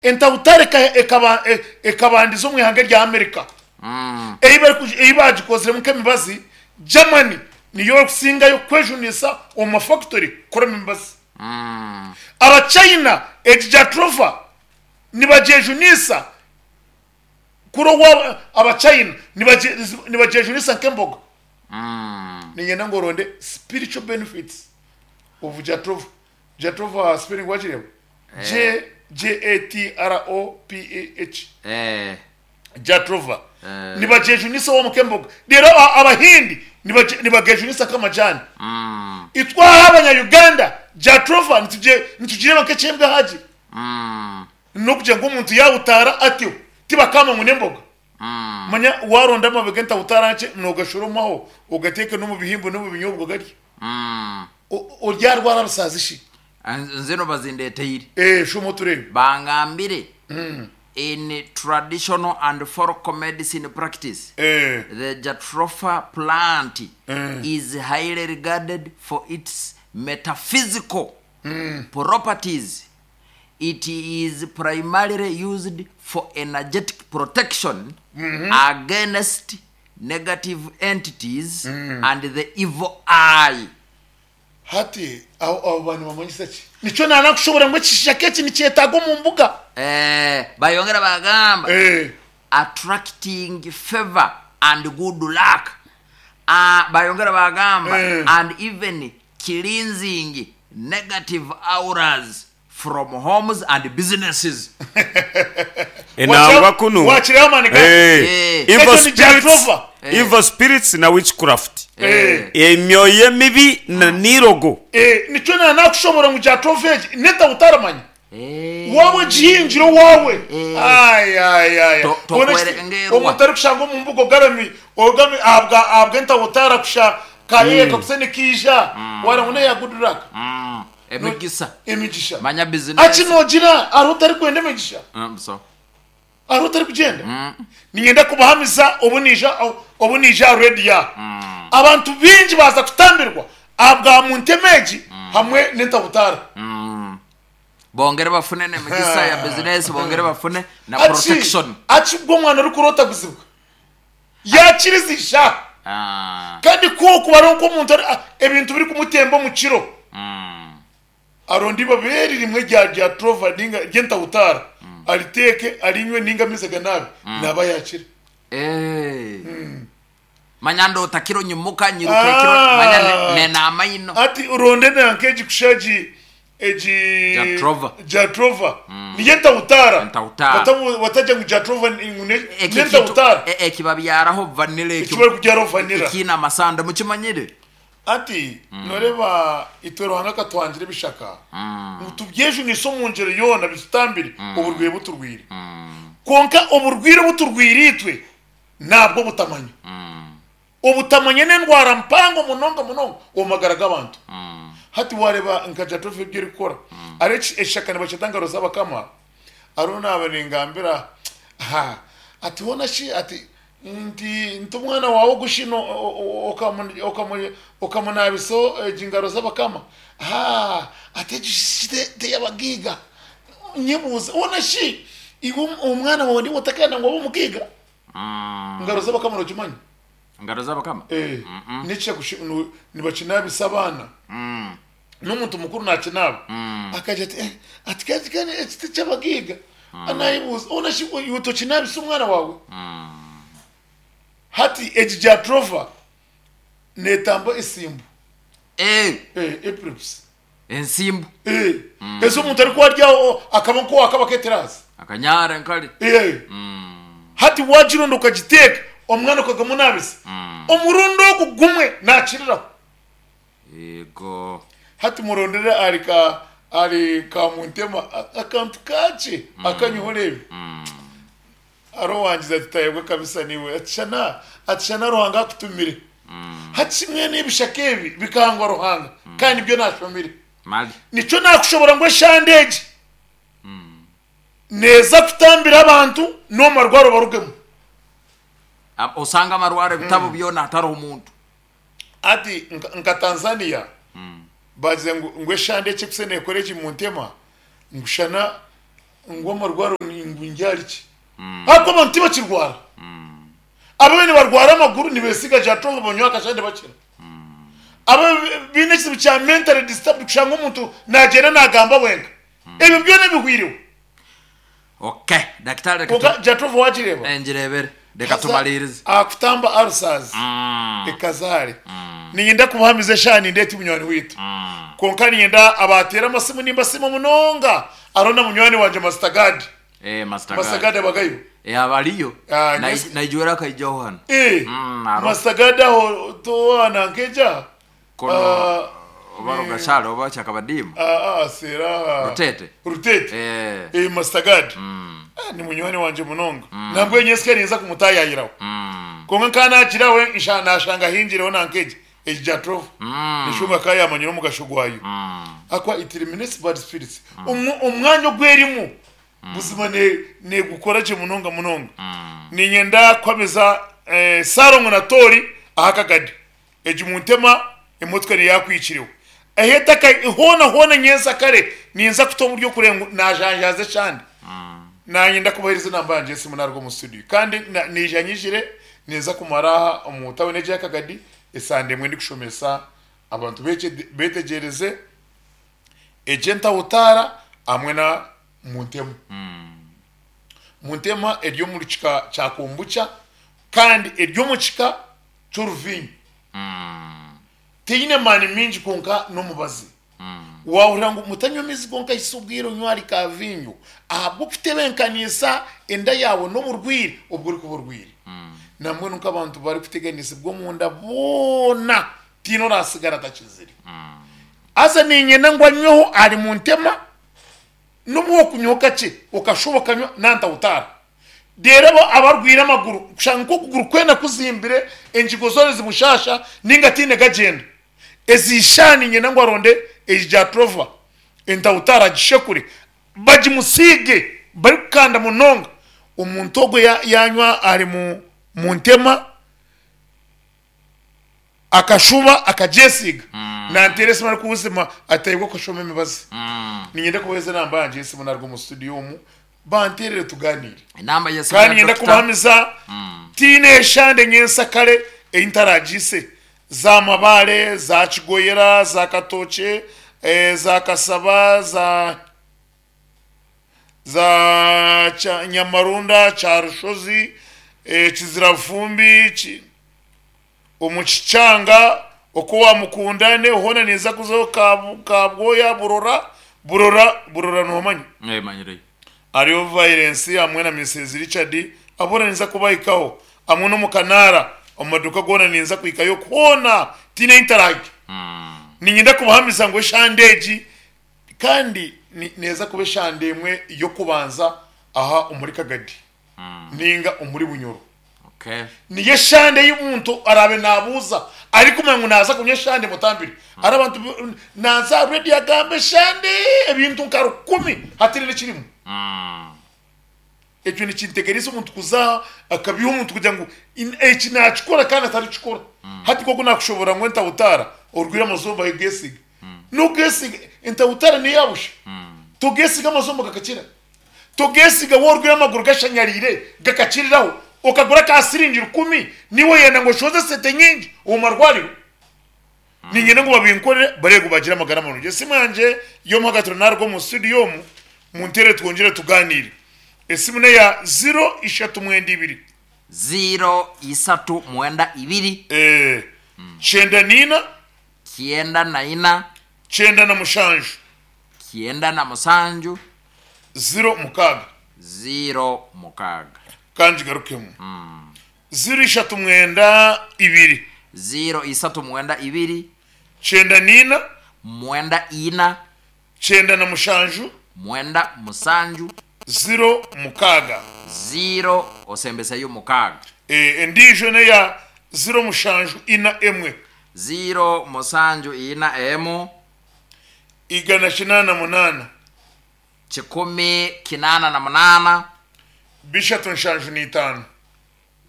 Entautare ekabandiza omu ihanga erya Amerika ei baagikoziremu nk'emibazi. Germany niyo erikusingayo kwejunisa omu mafakitori kukoramu emibazi. Abachina egi Jatropha nibagyejunisa kuri owaabo Abachina nibagyejunisa nk'emboga. Niinyenda ngu oronde spiritual benefits of Jatropha. Jatropha spelling wagireeba? J J A T R O P A H Eh, Jatropha Eh. nibagyejunisa omu k'emboga reero a- abahindi nibagye- nibagejunisa nk'amajani mm, itwe aha abanya Uganda Jatropha nitugye- nitugireeba nk'eky'embwahagi mm, n'okugira ngu omuntu yaawutaara atyo tibakamba ngu n'emboga mm. manya waaronda amababi g'entawutaara nkye noogashoromaho ogateeke n'omu bihimbo n'omu binyobwa ogarye Mm. O- oryarwara rusaazi shi Nzino bazindeteire. Eh, shoma otureebe. Bangambire in traditional and folk medicine practice, Eh, the jatropha plant is highly regarded for its metaphysical properties. It is primarily used for energetic protection against negative entities and the evil eye. Hati abo abo bantu nibamanyisa ki? Nikyo naanakushobora ngu ekishaka eki nikyetaaga omu mbuga. Eh, bayongera bagamba Eh. attracting favor and good luck. Ah, bayongera bagamba Eh. and even cleansing negative auras from homes and businesses. Enangwa kunu Wakireeba amaani ga Eh, Eh. evil Ekyo ni spirits, Jatropha. evil spirits na witchcraft Eh. emyoyo emibi na n'irogo Eh, nikyo naanakushobora ngu Jatropha egi neta utaramanya. Eh. Waaba ogihingire owaawe. Eh. Ai, ai, ai. To- Ona tokwere kiti- ngerwa. omuntu arikushanga omu mbuga ogarami, ogami ahabwa ahabw'entawutara kusha kaye kakuse nikiija. Wagira ngu neya good luck. Mm. Emigisa. Emigisha. Manya business. Hati noogira hariho otarikwenda emigisha? Mm, so. Hariho otarikugyenda? Niinyenda kubahamiza obu naija obu naija aha reediyo aha. Abantu baingi baaza kutambirwa ahabwa muntema egi hamwe n'entabutaara. Bongere bafune n'emigisa ya business, bongere bafune na Hati protection. hati bwo omwana orikuroota kuzibwa yaakiriza ishaaha Ah. kandi ku okuba ari nk'omuntu ari- ah, ebintu birikumutemba omu kiro aronda eibabi eri rimwe rya rya trova ninga ry'entawutaara ariteeke arinywe ninga amaizi aganaabe naaba yaakira. Eh. Manya ndoota kiro nyimuka nyiruka ekiro Ah. manya ne- nenaama ino. Hati oronde nanka egi kusha egi egi Jatropha. Jatropha niyo entawutaara. Entawutaara. Batabu- Batagira ngu Jatropha ni- ngu ne- Eki kintu n'entawutaara. e- ekibabyaraho vanilla Eki ekyo barikubyaraho vanilla. ekiine amasanda mukimanyire? Hati noreeba itwe Ruhanga akatuhangira ebishaka ngu tubyejunise omu ngyero yoona bitutambire oburwaire bu turwaire. Kwonka oburwaire obu turwaire itwe nabwo obutamanya. Obutamanya n'endwara mpango munonga munonga omu magara g'abantu. Hati waareeba nka Jatropha ebi erikukora, hariho ekishaka nibakyeta ngaro z'abakama, hariho naaba ningambira ha ati hoona shi ati nti nti omwana waawe ogu shi okamunaabisa egi ngaro z'abakama? Haa ati egi shi tey'abagaiga. Nyebuuza hoona shi iwe omwana waawe niiwe otakenda ngu abe omugaiga? Ngaro z'abakama nogimanya? Ngaro z'abakama? Eh, n'ekisha kushi- nu- nibakinabisa abaana. N'omuntu mukuru nakinaaba. Akagira ati eh, ati kandi kandi eki tiky'abagaiga. Nayebuuza hoona shi iwe tokinabisa omwana waawe? Hati egi Jatropha neetamba esimbu. Eh, Eh, epilepsy. ensimbu. Eh, ezi omuntu arikuba ari aho akaba nk'owakaba aketeraasi. Akanyara nkari. Eh. Hati waagironda okagiteeka omwana okagamunaabisa, omurundi ogu gumwe naakiriraho. Yego. Hati murondere ahari ka ahari Kamuntema akantu kakye akanyweho oreebe. Hariho owangize ati tayebwa kabisa niiwe ati shana ati shana Ruhanga akutumire. Hati shi mbwenu ebishaka ebi bikahangwa Ruhanga kandi nibyo naashomire. Mali. Nikyo naakushobora ngu eshande egi neeza kutambira abantu n'omu marwaro barugemu. Osanga amarwaro ebitabo byona hatariho muntu. Hati nka Tanzania bagize ngu ngu eshande eki ekuse nekora egi muntema ngu shana Ngu amarwaro ngu ngyari ki? Ahabw'okuba abantu tibakirwara. Abamwe nibarwara amaguru nibesiga Jatrol banywa akashande bakira. Abamwe baine ekizibu kya mentally disturbed kushanga omuntu nagyenda nagamba wenka. Ebyo byona bihwireho. Okay, dakitari reka Kwonka Jatrol wagireeba? Eh, ngireebere. Reka Haza tumariirize. aha kutamba ulcers ekaza hare. Niinyenda kumuhamiza eshaaha nindeeta munywani waitu. Kwonka niinyenda abaateera amasimu nimbasiima munonga. Hariho na munywani wangye Master Gad. Eh, Master Master Gad. Gad abagayo? Eh, abariyo. Ah, Nai- yes. Naijwera akaijaho hanu. Eh, hariho. Master Gad aho towana nkeja? Kono Ah, oba Rugashara oba Kyakabadiima. ah, ah, sera. Rutete. Rutete. Eh. Eh, Master Gad. Ah, ni munywani wangye munonga. Nambwenu nyensi ninza kumutayayiraho. Kwonka nka nagira we nsha nashanga ahingireho nankeja. Egi Jatrov. Nishunga ka yamanyire omugasho gwayo. Akwa it eliminates bad spirits. Omwanya ogwerimu buzima ne negukora gye munonga munonga. Ninyenda kuhamiza eh, Sarongo na Tori aha kagadi. Egi muntema emotoka neyakwikireho. Ahetaka hoona hoona nyensa kare ninza kuta oburyo kureba ngu najanjaaza eshande. Nanye ndakubahereza enamba yangye y'esimu naruga omu studio. Kandi na- naija nyijire ninza kumara aha omu tawuni egi y'Akagadi esande emwe ndikushomesa abantu betegyereze egi entahutaara hamwe na Muntema. Muntema eri omu kika kya kombucha kandi eri omu kika ky'oruviinyo. Teine maani maingi kwonka n'omubazi. Waahurira ngu mutanywa amaizi gonka hitsya obwire onywe ahari ka viinyo ahabw'okutebeekanisa enda yaawe n'oburwaire obu orikuba orwaire. Nambwenu nk'abantu barikuteganisibwa omunda boona tihaine oraatsigara atakizire. Haza niinyenda ngu anyweho ahari Muntema N'obu wokunywaho kakye okashuba okanywa nantahutaara. Reero abo abarwaire amaguru kushanga nk'okuguru kwena kuzimbire, engigo zoona zimushaasha ninga tihaine gagyenda. Ezi ishaaha niinyenda ngu aronde egi Jatropha entahutaara agishekure bagimusiige barikukanda munonga. Omuntu ogwo yanywa ahari Muntema. Akashuba akagyesiiga nanteera esimu arikubuzima ati ayiwe okashoma emibazi. Niinyenda kubaheereza enamba yangye y'esimu naruga omu studio omu banteerere tugaaniire. Enamba y'esimu Kandi ya niinyenda Dokita. kubahamiza tihaine eshande nyensakare ei ntaragiise za Mabaare, za Kigoyera, za Katookye, za Kasaba, za. Za Nyamarunda, Kyarushozi, Kizirafumbi, omu Kikyanga, okwo owa Mukundane hoona ninza kuzaho Kabwoya, Burora, Burora, Burora nohamanya? Eh, manyireyo. Hariyo Violence hamwe na Mrs Richard, abo boona ninza kubahikaho hamwe n'omu Kanaara, omu maduuka goona ninza kuhikayo hoona tihaine ahi ntarahika. Niinyenda kubahamiza ngu eshande egi Kandi neeza kuba eshande emwe y'okubanza aha omuri Kagadi ninga omuri Bunyoro. Niyo eshande ei omuntu araabe naabuuza arikumanya ngu naaza kunywa eshande mutambire. Hariho abantu naaza aha rediyo agamba eshande ebintu nka rukumi hataine n'ekirimu. Ekyo nikintegereza omuntu kuza akabiha omuntu kugira ngu eki nakikora kandi atarikikora. Hati nk'oku nakushoboorora ngu entahutaara orwire amazomba ogesiiga. Nogesiiga entahutaara neya busha. Togesiiga amazomba gakakira. Togesiiga waaba orwire amaguru gashanyariire gakakiriraho okagura aka siringi rukumi niiwe oyenda ngu oshohoze esente nyingi omu marwariro. Niinyenda ngu babinkorere barebe ngu baagira amagara marungi. Esimu yangye y'omuhagatiro naaruga omu studio omu, munteerere twongyere tugaaniire. Esimu n'eya ziro ishatu mwenda ibiri. Ziro isatu mwenda ibiri. Kyenda naina. Kyenda naina. Kyenda na mushanju. Kyenda na musanju. Ziro mukaaga. Ziro mukaaga. Ka ngigarukemu. Ziro ishatu mwenda ibiri. Ziro isatu mwenda ibiri. Kyenda naina. Mwenda ina. Kyenda na mushanju. Mwenda musanju. Ziro mukaaga. Ziro osembeseyo mukaaga. Endiijo n'eya ziro mushanju ina emwe. Ziro musanju ina emu. 188. 188. 375.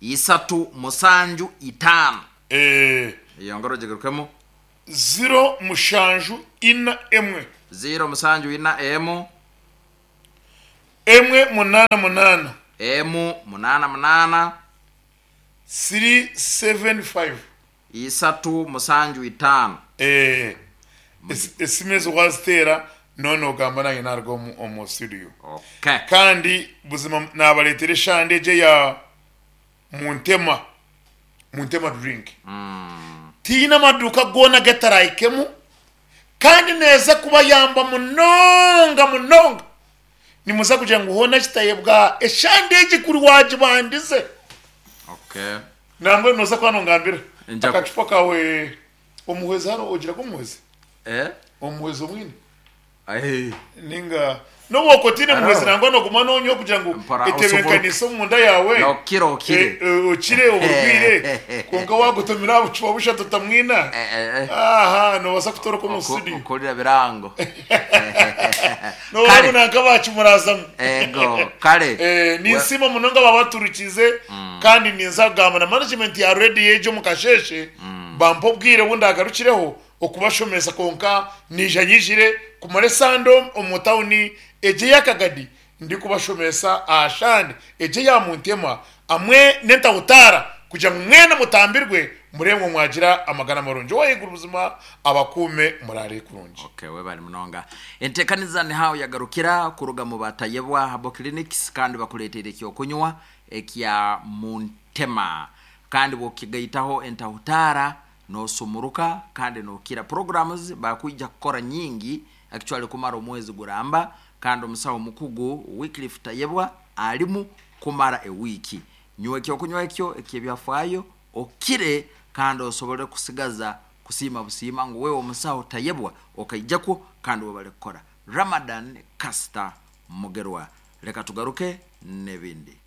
375. Eyo ngaro ogigarukemu. 0 7 4 1. 0 7 4 1. Emwe munaana munaana. Emu munaana munaana. 375. Isatu musanju itaano. Eeh esimu ezo waziteera noba nogamba nanye naruga omu studio. Okay. Kandi buzima nabaretera eshande egyo eya Muntema, Muntema drink. Tihaine amaduuka goona agetarahikemu kandi neeza kubayamba munonga munonga. Nimuza kugira ngu hoona kitayebwa eshande egi kuri wagibandize. Okay. Nambwenu nooza kuba nongambira Nja- akacupa kawe omuhwezi hariho ogira gu omuhwezi? Eh? Omuhwezi omwine? Eh. Ninga n'obu okwo otaine muhwezi Hariho. nangwa nooguma nonywa kugira ngu Mpora etebeekanise omunda yaawe. Nokira okire. Eh, eh, okire oburwaire kwonka waagotomera aha bucupa bushatu otamwina Eh, eh, eh. aha noobaasa kutoroka omu Oku- studio. Okurira birango. Nooreeba Kare. nanka baakimurazamu. Ego, kare. Eh, ninsiima munonga ababaturikize kandi ninza kugamba na management ya radio egyo omu kasheeshe bampe obwire obu ndagarukireho okubashomesa kwonka naija nyijire kumara esande omu tawuni egyo ey'akagadi ndikubashomesa aha shande egyo eya Muntema hamwe n'entahutaara kugira ngu mwena mutambirwe mureebe ngu mwagira amagara marungi. Ow'ahaiguru buzima abakuume muraare kurungi. Okay, webale munonga. Entekaniza niho yagarukira kuruga mu ba Tayebwa Herbal Clinics kandi bakureteire ekyokunywa ekya Muntema kandi bwokigaitaho entahutaara nosumuruka kandi nokira. Programs bakwija kukora nyingi actually kumara omwezi guramba kandi omusaho omukugu Wycliffe Tayebwa arimu kumara ewiiki. Nywa ekyokunywa ekyo eky'ebyafaayo okire kandi osobole kusigaza kusiima busiima ngu wewe omusaho Tayebwa okaijakwo kandi webale kukora. Ramadan Kasita Mugerwa. Leka tugaruke n'ebindi.